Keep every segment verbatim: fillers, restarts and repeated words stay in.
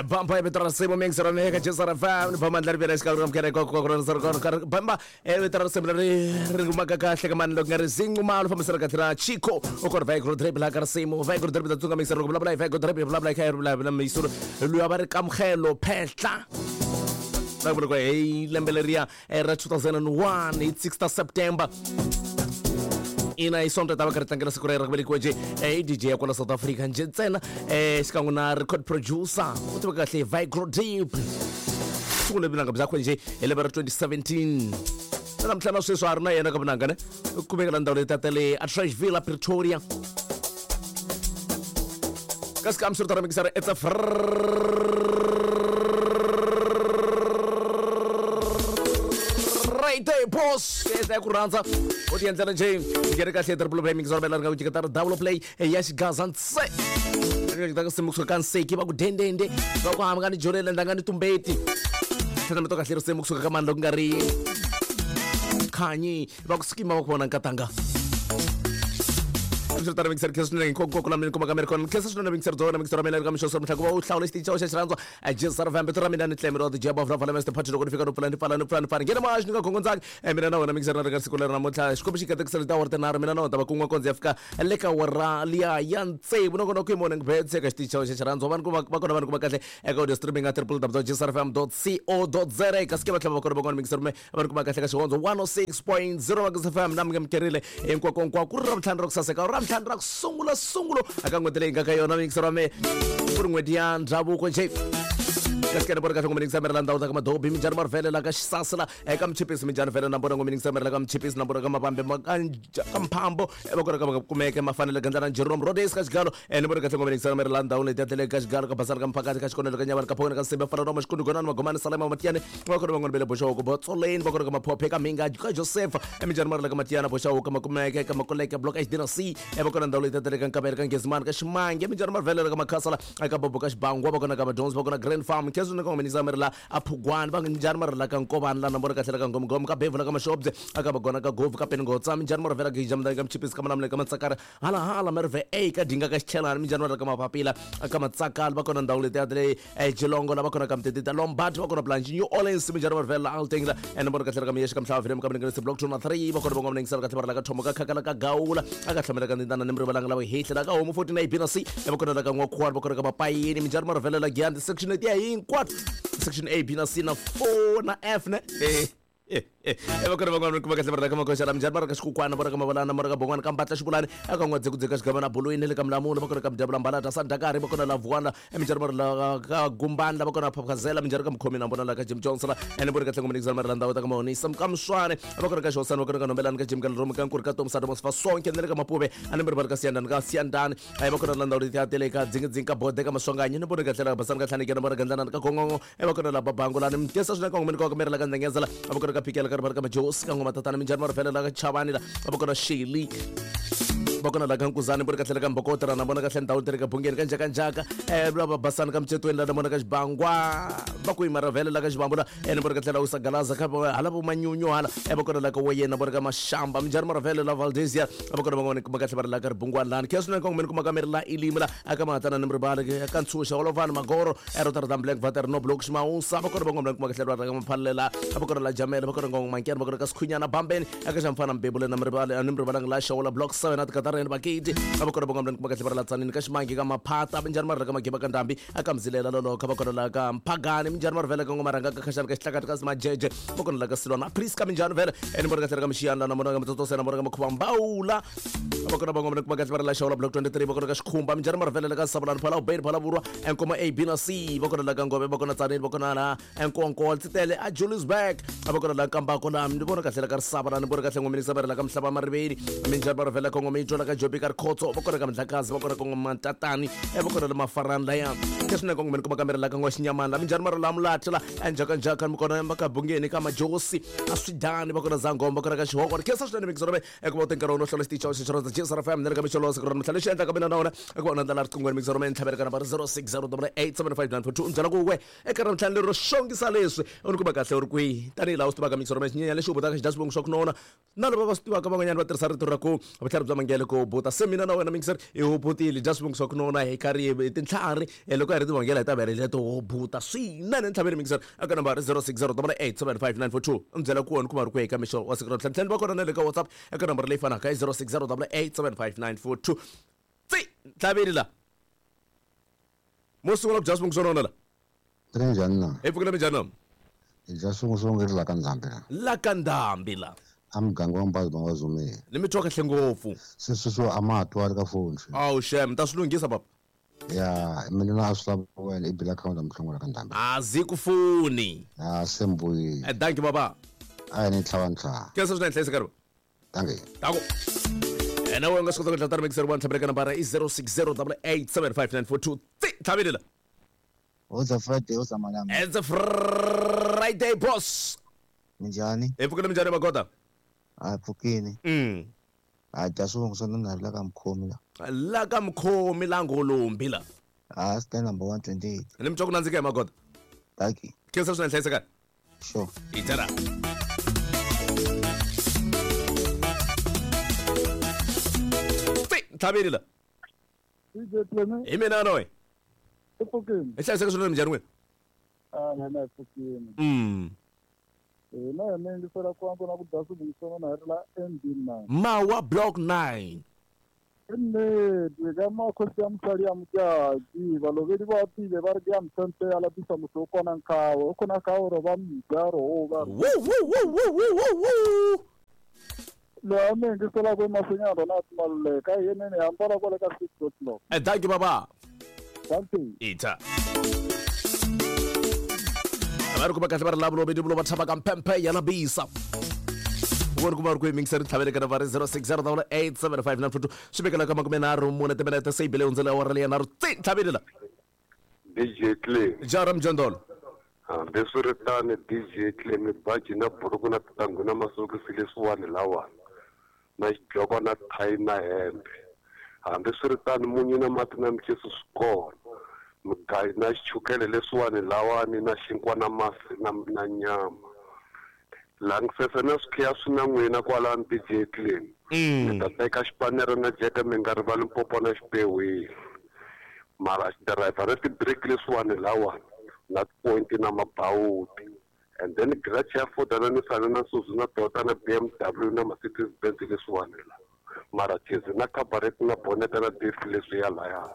Bamba e vito ra risimu mix ra meka J S R F M ni bamba ndlela ri xikarhi ka mukhere ko ko ko bamba e vito ra risimu leri ri humaka kahle ka mani loko nga ri zinqumalo fambisana kahle na Chico u kona Vigro Drip la ka risimu Vigro Drip ta tsunga mix ra vulavula Vigro Drip vulavula kha vulavula misuru luya va ri kamkhelo phehla na vula ko hey lembe leriya ra two thousand one hi sixth of September ina isonto ta va karhi tlangela siku ra yena ra ku velekiwa nje eh D J ya kwala South Africa nje ntsena eh xikan'we na record producer u tiveka kahle Vigro Deep sungule vunanga byakwe nje hi lembe ra twenty seventeen na namuntlha na sweswi a ri na yena ka vunanga ne u kumeka la ndhawu leyi tatele a Trashville Pretoria kasi ka msuri ta mixara it's a Friday boss yes ku rhandza u ti endlela nje ngere kahle triple play mixer bela nga ku jika double play ya xigaza ntse ri ta simu kusuka nseki va ku dendende va ku hamba ni jorela ndanga ni tumbeti tlhela mito kahle ri simu kusuka ka mani loko nga ri khanyi va ku skima va ku vona nkatanga mixer mixer khe swinene nkonkoko la mina kuma ka American khe swinene mixer dzona mixer mina ka mixo mhla ku va u hlawula xitichi xa xirhandzo a J S R F M ra mina ni tlemero the job of love Mister Patrick loko ni fika no pfula ni pfala ni pfula ni pfala ngena ma xi nga gongondzangi mina na wena mixer na ri ka siku leri namuntlha xikombi xi katekisela ta wara tinharhu mina na wena ta va kun'we kondzi ya fika le ka wara liya ya tsevu nongonoko hi morning bets eka xitichi xa xirhandzo vanhu va kona vanhu kuma kahle eka audio streaming at w w w dot j s r f m dot co dot z a kasi ke va tlhela va kona va kona mixer me va kuma kahle ka xihondzo one oh six point zero wa F M na mi ngekerile hinkwako hinkwako ku ri ra ntlhanu ra ku saseka ra ntlhanu ra ku sungula sungulo aka n'hweti leyi nga ka yona mixer wa me ku ri n'hweti ya ndhavuko nje kasi ke ni vona kahle ngomeni ngisamerela ndhawu ta ka madobi minjhani marivele la ka xisasila eka mchipisi minjhani vele na vona ngomeni ngisamerela ka mchipisi na vona ka mavambe ka mphambo va kona ka va kumeke mafanele gandlana Jerome Rhodes ka xigalo ni vona kahle ngomeni ngisamerela ndhawu leti ya tele ka xigalo ka basana ka mphakati ka xikonelo ka nyavana ka phokweni ka nsimbe fana roma xikundu gonani magomani salema matiyane va kona van'wana bele boxawuko botsoleni va kona ka maphophe ka mhinga ka Joseph minjhani marela ka matiyana boxawuko makumeke ka makoleke block H D na C va kona ndhawu leti ya tele ka nkavele ka ngezimani ka ximange minjhani marivele ka makhasala ka bobo ka xibangwa va kona ka majones va kona Grand Farm khe swinene ngomeni ngisamerela aphugwani va njhani marela ka nkovani la na vona kahle ka ngomgom ka bevula ka mashobye aka bagona ka govu ka peningotsa minjhani marivela ka jamdani ka mchipisi ka malamule ka matsakara hala hala merve a ka dinga ka xichelani minjhani marela ka mapapila ka matsakala va kona ndhawu leti ya le Geelong la va kona ka mtetita Lombard va kona Blanche New Orleans minjhani marivela Alteng la ene vona kahle ka miyexe ka mhlava vile ka mninga block two na three va kona van'wana ngisela kahle marela ka thomo ka khakala ka gawula aka hlamela ka ndindana ni mrivalanga la hehla la ka homu forty-nine B na C va kona la ka n'wakhuwani va kona ka mapayini minjhani marivela la Giyani section ya hinkwato section A B na C na four na F ne eh eh va kona van'wana kuma kahle marela ka makoxa la minjhani marela ka xikukwana vona ka mavalana mara ka bongwana ka mbatla xivulani aka n'wadzekudzeka xigava na bolweni le ka milamula va kona ka mdyabula mbalata sandakari va kona la vuwana minjhani marela ka gumbani la va kona phaphazela minjhani ka mukhomi na vona la ka Jim Johnson la ene vona kahle ngomeni marela ndhawu ta ka mahonisa ka mswane va kona ka xihosana va kona ka nombelani ka Jim ka Leromo ka Nkuri ka Tom Sadomos fa sonke ne le ka Mapuve ane mri ka siyandani ka siyandani ai va kona la ndhawu leti ya tele ka dzingidzingi ka bode ka maswanganyi ni vona kahle la basana ka tlhaneke na vona gandlana ka gongongo va kona la babangulani mkesa swinene ka ngomeni ka merela ka ndengezela va kona ka phikela ka ri ka majosi ka ngoma tatana minjhani marivele la ka chavani la va kona Shirley va kona la ka Nkuzani vona kahle ka Mbokotela na vona kahle ndhawu leri ka Bungeni ka njhaka njhaka eh va basana ka Mcetweni la na vona ka Xibangwa va ku yimaravele la ka Xibambu la ene vona kahle la Usagalaza ka hala vo Manyunyu hala e va kona la ka Weyena vona ka Mashamba minjhani marivele la Valdezia va kona van'wana kuma kahle va ri la ka Ribungwani lani khe swinene ka ngomeni kuma ka meri la Ilimi la aka mahatana ni mribale ka Ntshuxa Olovani Magoro eRotterdam Black Vater no Block Ximawusa va kona van'wana kuma kahle va ri ka Maphalela va kona la Jamela va kona Ngongmankeni va kona ka Sikhunyana Bambeni aka Xamfana Mbebule na mribale ani mribalanga la Xawula Block seven at Katareni bakiti va kona van'wana kuma kahle va ri la Tsanini ka Ximangi ka Maphata minjhani marivele ka Magiba ka Ndhambi aka Mzilela loloka va kona la ka Mphagani minjhani marivele ka Ngomaranga ka Khashani ka Xihlakati ka Simajeje va kona la ka Silwana Priska minjhani vele ene vona kahle ka Mixiyana na vona ka Mtsotsosena vona ka Makhuvambawula va kona van'wana kuma kahle va ri la Xawula Block twenty-three va kona ka Xikhumba minjhani marivele ka Sabulani Phala Ubeni Phala Vurwa Enkoma A B na C va kona la ka Ngove va kona Tsanini va kona la Enkonko Tsitele a Juliusburg va kona la Kambako la ni vona kahle la ka Risava la ni vona kahle ngomeni saverela ka Mhlaba Mariveni minjhani marivele ka Ngomeni la ka Jobi ka Rikhotso va kona ka Mdlakazi va kona ka Ngomantatani va kona la Mafarani laya ke swinene ka ngomeni kuma ka merela ka N'waxinyamani la minjhani marivele Mulathi la enjhaka njhaka mi kona ka Bungeni ka Majosi a Swidani va kona Zangoma va kona ka Xihoko ri khensa swinene mixero eka va nkarhi wo hlola xitichi xa xirhandza J S R F M ne le ka mixolo siku ra namuntlha lexi endlaka mina na wena eka va ndlela riqingweni mixero me ntlhavela ka nambara zero six zero eight seven five nine four two mbyala ku we eka namuntlha lero xongisa leswi u ni kuma kahle u ri kwihi tanihi laha u swi tivaka mixero me xinyenya lexi u botaka xidya swivongo swa ku nona na lava va swi tivaka van'wanyana va tirhisa rito ra ku vutlhari bya mangele ku hubuta se mina na wena mingiseri i hubutile dya swivungu swa ku nona hi karhi tintlhari loko hi ri tivangela hi ta va ri to hubuta swinene ntlhaveni mingiseri eka nambara zero six zero double eight seven five nine four two mi byela ku wena kuma ri ku eka mixo wa siku ra ntlhanu va kona na le ka WhatsApp eka nambara leyi fanaka i zero six zero double eight seven five nine four two tsi ntlhaveni la mo sungula ku dya swivungu swo nona la ri njhani na hi pfukile minjhani na hi dya swivungu swo nge ri la ka ndhambi la la ka ndhambi la a muganga wa Mbazi va nga zumeli ni mi twa kahle ngopfu se sweswo a ma ha twali ka foni awu shem ta swi lunghisa papa ya mina na a swi lava wena i bila akhawunti ya muhlongola ka ndhambi a zi ku funi a se mbuyile eh thank you baba a ni tlhava ntlhava khensa swinene hlayisa karhi thank you tako ena wena nga swi kota ku dlata mixer one tlhavela ka nambara i zero six zero double eight seven five nine four two tsi tlhaveli la It's a Friday, what's a It's a Friday, boss. Minjhani? Hi pfukile minjhani magoda? A pfukini. Mm. A dya swivungu swa nuna la ka mukhomi la. La ka mukhomi la ngolombi la. A stand number one twenty-eight. Ni mi twa ku nandzika hi magoda. Thank you. Khensa swinene hlayisa kahle. Sure. Itara. Tsi, tlhaveli la. Hi mina noyi. Pfukini. Hi hlayiseka swinene minjhani n'wina? Ah, mina hi pfukini. Mm. Hina hi mi yingisela ku antswa na ku dya swivungu swa nona hi ri la M D nine. Mawa block nine. Nnete ka makhosi ya mosadi ya Mojaki balovedi ba pile ba re ke ya mthente ya lapisa motho o kona nkawe o kona ka gore ba mja ro ba. Woo woo woo woo woo woo. Lo mi yingisela ku masinya rona maluleka yenene hambana kwale ka six o'clock. Eh thank you baba. Ita. Va ri ku va kahle va ri lavo lovedi vulo va tshama ka mpemphe ya labisa. Vona ku va ri ku yingisela tlhavele ka nambara zero six zero double eight seven five nine four two swi vekela ka makume nharhu mune timinete se yi bile hundzela awara leyi nharhu tsi tlhavele la. D J Clay. Jara Mjondolo. Hambiswiritano D J Clay mibaji na buruku na tintangu na masokisi leswiwani lawani na xidloko na thayi na hembe. Hambiswiritano munyu na mati na micheso swi kona. Mugayo na xichukele leswiwani lawani na xinkwa na masi na, na nyama. Langisese na swikhiya swi na n'wina kwalani D J Clay. Mi ta teka xipanere na jeke mi nga rivali mpopo na xipewini. Mara xidirayivha na tibiriki leswiwani lawani na tipointi na mabawuti. And then garage ya Ford na Nissan na Suzuki na Toyota na B M W na Mercedes Benz leswiwani la. Mara chezi na cabaret na bonnet na diff leswi ya laya.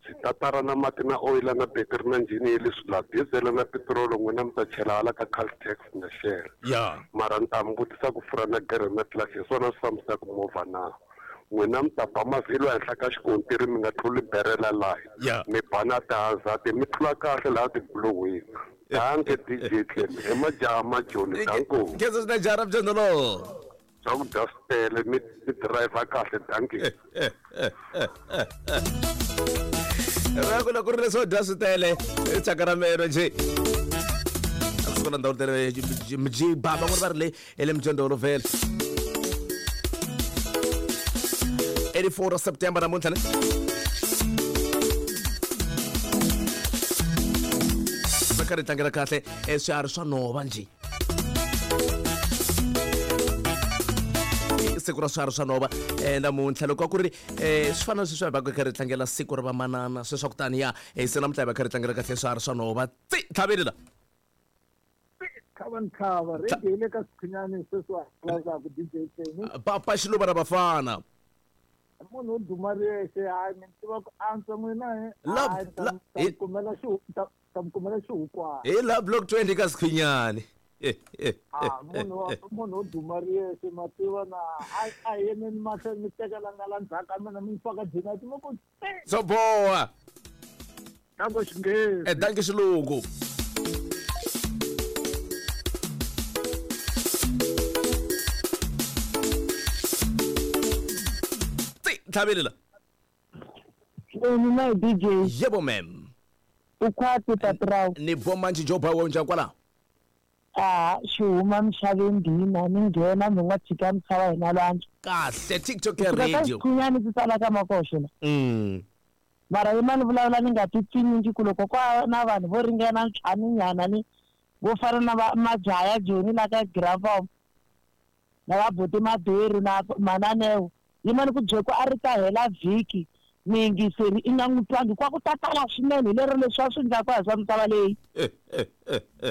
Switatara na mati na oil na battery na njhini leswi la diesel na petrol n'wina mi ta chela hala ka Caltex na Shell. Yeah. Mara ni ta mi vutisa ku fura na gere na clutch hi swona swi fambisaka movha na. N'wina mi ta ba mavhilwa henhla ka xikontiri mi nga tluli berela laha. Mi ba na tihazard mi tlula kahle laha tibulohweni. Danke D J Clem. I majaha majoni danko. Khensa swinene jara Mjondolo. Swakudya swi tele mi mi driver kahle dankie. Ra ku loko ri leswo dya swi tele i thyaka ra meno njhe. A swi kona ndhawu tele mjiba van'wana va ri le hi le Mjondolo vhele. eighty-four September namuntlha ne. Va karhi tlangela kahle swiharhi swa nhova njhe. Siku ra swiharhi swa nhova namuntlha loko a ku ri swi fana na sweswi hi va kha ri tlangela siku ra vamanana sweswi ku tani ya se namuntlha hi va kha ri tlangela kahle swiharhi swa nhova tsi tlhaveli la. Tlhava ntlhava radio yi le ka Sikhinyani sweswi wa vulavulaka D J Clem. Papa Xiluva ra vafana. Munhu wo duma riyexe hayi mi tiva ku antswa n'wina hi kumela ta mi kumela xihukwana. Hi la block twenty ka Sikhinyani. Ah, munhu wa munhu wo duma riyexe ma tiva na a a yeneni mahlweni mi tekela nga la ndzhaku ka mina mi faka jinati mi ku swo boha. Danko xinghezi. Eh danke xilungu. Tsi tlhaveli la. Mina D J. Yebo ma'am. Ukhwati Patraw. Ni bomanji joba wa njhani kwala? A xi huma misaveni ndina ni nghena mi nga tshika misava hina lwandle. Kahle TikTok ya radio. Kunyani ti tsala ka makoxo la. Mm. Mara yima ni vulavula ni nga ti pfinyingi ku loko kwa na vanhu vo ringana ntlhanu nyana ni vo fana na majaha ya Joni la ka Gravom na va buti Maberu na Mananeo Yimani ku byela ku a ri ta hela vhiki miyingiseri i nga n'wi twangi kwa ku ta tala swinene hi lero leswi a swi endlaka hi swa misava leyi.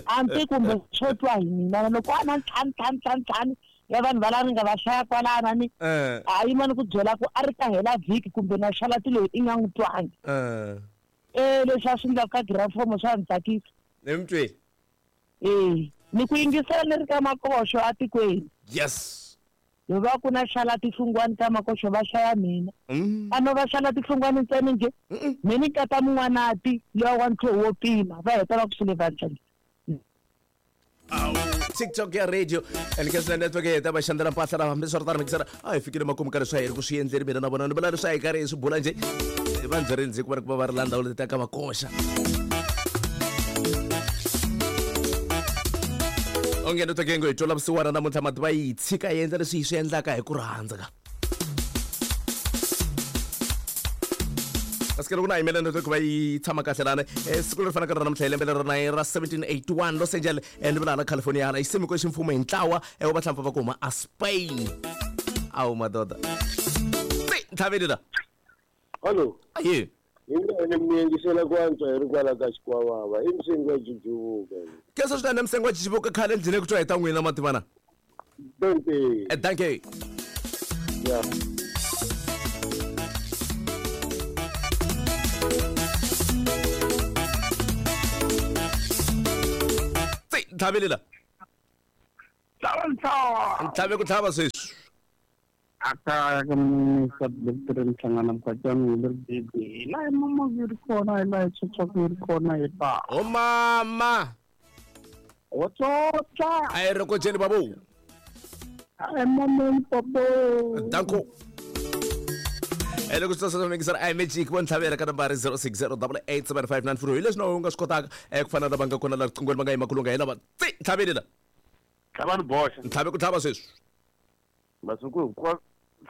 Hambi kumbe swo twa hi mina loko a na ntlhanu ntlhanu ntlhanu ntlhanu ya vanhu va lava nga va hlaya kwalana ni a yimani ku byela ku a ri ta hela vhiki kumbe na xalati leyi i nga n'wi twangi. Eh leswi a swi endlaka ka girafomo swa ni tsakisa. Ni mi twile. Eh ni ku yingisela ni ri ka makoxo atikweni. Yes. Yo va ku na xala tihlungwani ta makoxo va hlaya mina. A no va xala tihlungwani ntsena nje. Mina nkata mun'wanati lowa wa ntlhoho wo pima va heta va ku swi le vandleni. TikTok ya radio and ke swi network ya ta va xandla mpahla ra hambi swi ri tano mikisera a hi fikile makumu ka leswi a hi ri ku swi endleni mina na vona ni vula leswi a hi karhi hi swi bula nje va ndzi ndzi ku va ri ku va va ri la ndhawu leti ta ka makoxa. Onge network yi ngo hi twela vusiwana namuntlha mati va yi tshika yi endla leswi hi swi endlaka hi ku rhandza ka. Kasi loko na yimela network va yi tshama kahle lana siku leri fanaka ra namuntlha hi lembe leri ra ra seventeen eighty-one Los Angeles ni vula hala California hala yi simekwe ximfumo hi ntlawa wa vahlampfa va ku huma a Spain. Awu madoda. Ntlhaveni la. Hallo. Aye. Hi nga mi yingisela ku antswa hi ri kwala ka Xikwavava i msengo wa Jijivuka. Kesa swinene msengo wa Jijivuka khale ndlhini ku twa hi ta n'wina mativana. Dankie. Eh dankie. Yeah. Ntlhaveli la. Ntlhave ku tlhava sweswi. Aka ka Mister Doctor Nhlangana Mkhwatshana hi ri bibi. La mama yi ri kona hi la tsotsa yi ri kona hi pa. O mama. O tsotsa. A yi ri ko jeni babu. Ai mama babo. Danko. Ele ku tsotsa mikisera i magic vo ntlhavela ka nambara zero six zero eight eight seven five nine four hi leswi na u nga swi kotaka ku fana na va nga kona la riqingweni va nga yima kulunga hi lava tsi ntlhaveli la. Tlhava ni boxa. Ntlhave ku tlhava sweswi. Masiku hinkwawo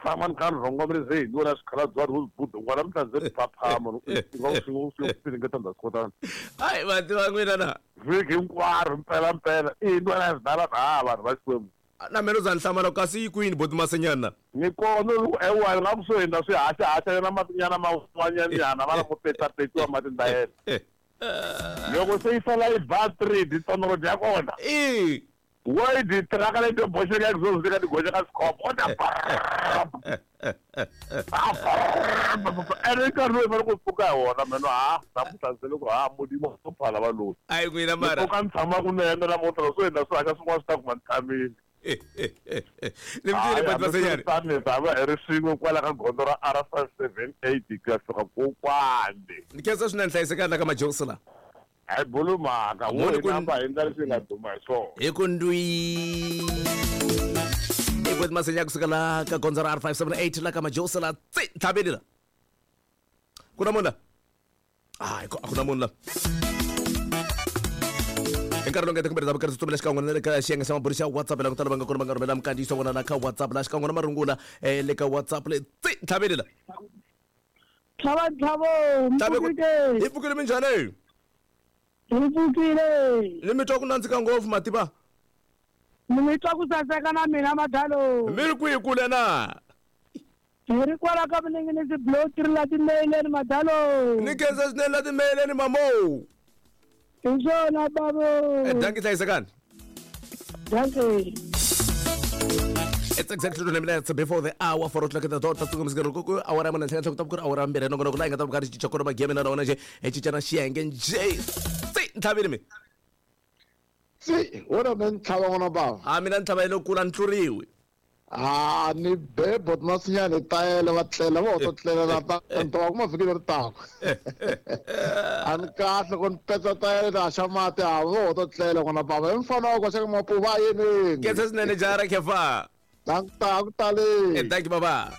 tshama ni kha ni rhongomele ze hi vona swikhalabya vo buda n'wana mi ta ze ni phaphama nga swi swi piringeta ndza swi kotana. Hayi vati va n'wina na. Vhiki hinkwaro mpela mpela i ntwana zidala ha vanhu va Xikwembu. Na mina za ni hlamala kasi yi kwini boti Masenyana. Ni kona loko ewa nga kusuhi na swi haxa haxa na matinyana man'wanyana va lava ku petapetiwa mati ndayena. Loko se yi sala yi ba three ditonoro ya kona. Eh. Why di traka le to boxeka ku zo ka di goxa ka scope o ta ene ka ro ba go pfuka wona meno ha namuntlha ndzi loko ha modimo o phala va loyi. Ayi n'wina mara. Loko ka ni tshama kunene namuntlha swo endla swi haxa swin'wana swi ta kuma ni tshamile. Ni mi twile boti Masenyana. Tani tava hi ri swin'we kwala ka gondzo ra R five seven eight ku ya fika kokwani. Ni khensa swinene hlayisekani la ka Majosi la. Hayi bulu mhaka wo Moni ku- namba hi ndlela leswi nga duma hi swona. Hi ku ndwi. I boti Masenya kusuka la ka gondzo ra R five seven eight la ka Majosi la tsi ntlhaveli la. Ku na munhu la? Hayi a ku na munhu la. Hi nkarhi lowu nga kumbe ta karhi tsutsumela xikan'we na le ka xiyenge xa maburi xa WhatsApp la ku tala va nga kona va nga rhumela minkandziyiso vona la ka WhatsApp la xikan'we na marungula eh le ka WhatsApp le tsi ntlhaveli la. Tlhava ntlhavo Ntlhave ku mpfukile. hi pfukile minjhani? Hi pfukile. Ni mi twa ku nandzika ngopfu mativa. Ni mi twa ku saseka na mina madalo. Mi ri kwihi kule na? Hi ri kwala ka Vuninginisi block three la timeleni madalo. Ni khensa swinene la timeleni mamo. Hi swona babo. Eh dankie hlayisekani. Dankie. It's exactly twenty minutes before the hour four o'clock at the dot. Tatsuka msikero kuku awara muna ntlhela ntlhela ku awara mbirhi nongonoko la hi nga ta va karhi cinca kona mageme na rona nje hi cinca na xiyenge nje. Tsi ntlhaveni mi. Tsi wona mina ntlhava n'wana bava. Ha mina ntlhava yi le kula ni tluriwi. Ah ni be bot Masinyana tayele va tlela va to tlela na ta nto va kuma vhiki leri taka. A ni kahle ku ni petsa tayele na xa mati a va to tlela n'wana bava i mfana wa koxa ka mapuva yini. Khensa swinene jara khefa. Dank ku tale. Eh thank you baba.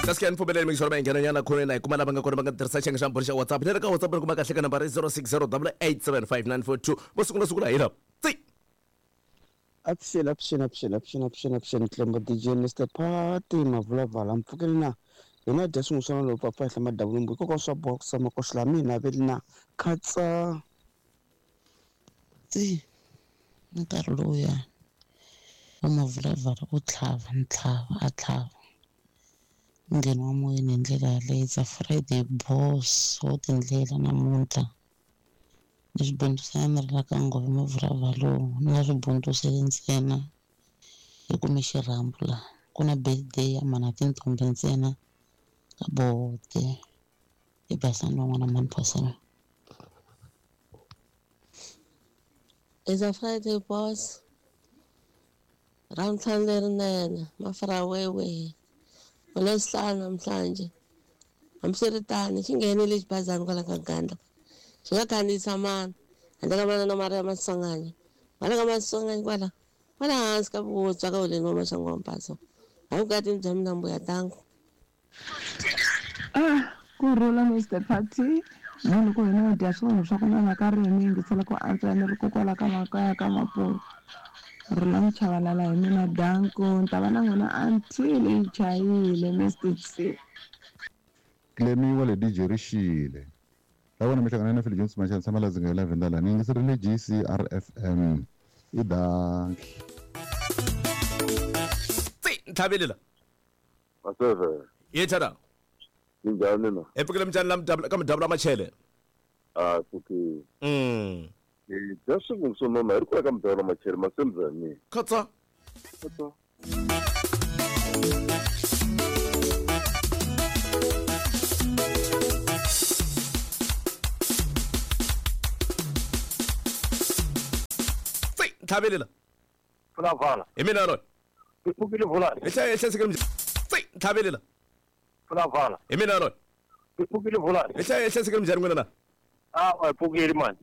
Kasi ni pfumeleli mingisoro va nghena nyana khoneni hi kuma lava nga kona va nga tirhisa xiyenge xa mbhuri xa WhatsApp leri ka WhatsApp ri kuma kahle ka nambara zero six zero eight seven five nine four two vo sungula sungula hi lava tsi. Avuxeni avuxeni avuxeni avuxeni avuxeni avuxeni Tlembo D J Mister Party Mavulavala mpfukeli na hina dya swin'wana lowu papa hla madavulumbu hikokwalaho swa boha ku tshama koxela la mina veli na khatsa. Tsi nkarhi lowuya Wa Mavulavala u tlhava ni tlhava a tlhava. Ngheno wa moyeni hi ndlela yaleyo. It's a Friday boss wo tindlela namuntlha. Ni swi bundzusela ni ri la ka Ngove Mavulavala ni nga swi bundzuseli ntsena hi kume xirhambo laha. Ku na birthday ya mhana tintombi ntsena ka bote. I basani van'wana mhani phosela. It's a Friday boss. Ravutlhanu lerinene mafarawewe. Ngolwesihlanu namhlanje. Hambiswiritano xi nghenile xibazana kwala ka Gandla. Xi nga khandziyisa mani handle ka manana Maria Maswanganyi. Kwala ka Maswanganyi kwala kwala hansi ka vutswa ka holeni wa Maxangu wa Mpaso. Evukatini bya mina mbuya tangu. Ah, kurhula Mister Party. Na loko hina hi dya swilo swa ku nona ka ririmi yingisela ku antswa ni ri kokwala ka makaya ka Mapolo. Rhula Muchavalala hi mina danko ni ta va na n'wina until yi chayile Mister C. Clemi wa le D J Rixile. La vona mi hlangana na Phil Jones Machana tshama la dzinga la Venda la ni yingiserile G C R F M. I danki. Tsi ntlhavelela. Maseve. Ye thana. Minjhani na? Hi pfukile minjhani la mudabula ka mudabula machele. Ah, pfukile. Mm. Eh, dya swivungu swo nona hi ri kwala ka mudabula machele masembyani. Khatsa. Khatsa. Tsi ntlhavelela. Pfulavala. Hi mina loyi. Hi pfukile vulani. Hi hlaye hlayisekile minjhani. Tsi ntlhavelela. Pfulavala. Hi mina loyi. Hi pfukile vulani. Hi hlaye hlayisekile minjhani n'wina na? Ah, hi pfukile mani.